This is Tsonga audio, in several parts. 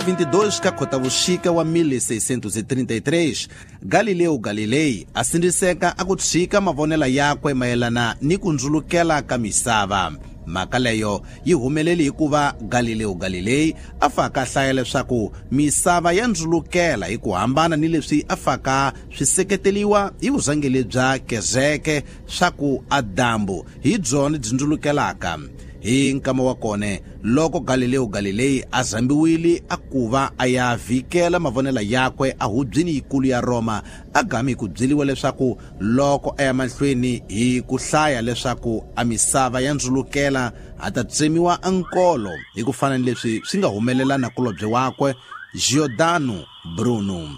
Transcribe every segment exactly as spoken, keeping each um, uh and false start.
vinte e dois ka Khotavuxika wa mil seiscentos e trinta e três, Galileu Galilei a sindziseka a ku tshika mavonelo yakwe mayelana ni ku ndzulukela ka misava. Mhaka leyo yi humelele hikuva Galileo Galilei a faka hlaya leswaku misava ya ndzulukela hi ku hambana ni leswi a faka swi seketeriwa hi vurhangeri bya kereke swa ku a dyambu hi byona byi ndzulukelaka. Hi nkama wa kone loko Galileo Galilei a zambiwile a kuva a ya vhikela mavonelo yakwe a hubyini yikulu ya Roma, a gami ku byeliwa leswaku loko a ya mahlweni hi ku hlaya leswaku a misava ya ndzulukela a ta tsemiwa ankolo hi ku fana ni leswi swi nga humelela nakulobye wakwe Giordano Bruno.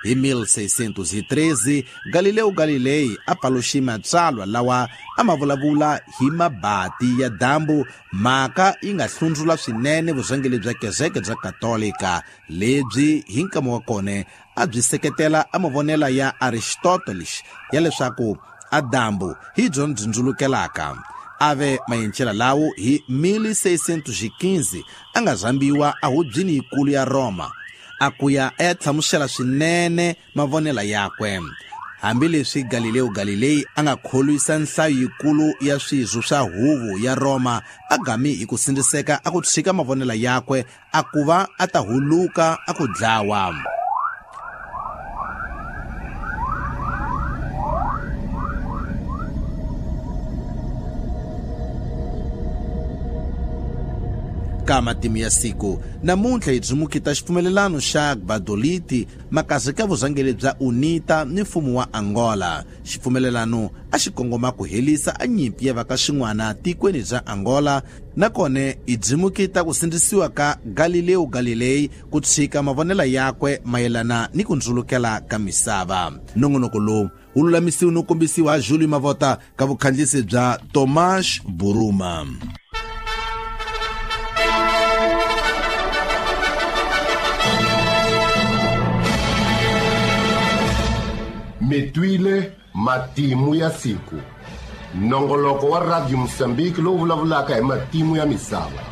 Hi mil seiscentos e treze, Galileo Galilei a paluxe matsalwa lawa a ma vulavula hi mabati ya dyambu, mhaka yi nga hlundzula swinene vurhangeri bya kereke bya Katolika lebyi hi nkama wa kone a byi seketela a mavonelo ya Aristoteles ya leswaku a dyambu hi byona byi ndzulukelaka. Ave mayencela lawo hi mil seiscentos e quinze a nga zambiwa a hubyini yikulu ya Roma, a kuya a ya hlamusela swinene mavonelo yakwe. Hambileswi Galileo Galilei a nga kholwisa nhlayo yikulu ya swirho swa huvo ya Roma, a gami hi ku sindziseka a ku tshika mavonelo yakwe a kuva a ta huluka a ku dlawa. Ka matimu ya siku namuntlha hi dzumukita xipfumelelano xa Gbadolite makazi ka vurhangeri bya UNITA ni mfumo wa Angola. Xipfumelelano a xi kongoma ku helisa a nyimpi ya va ka xin'wana tikweni bya Angola, nakona hi dzimukita ku sindzisiwa ka Galileo Galilei ku tshika mavonelo yakwe mayelana ni ku ndzulukela ka misava. Nongonoko lowu wu lulamisiwe no kombisiwa hi Júlio Mavota ka vukhandziyisi bya Tomás Buruma. Mitwile matimu ya siku, nongoloko wa Radio Mozambique lowu vulavulaka hi matimu ya misava.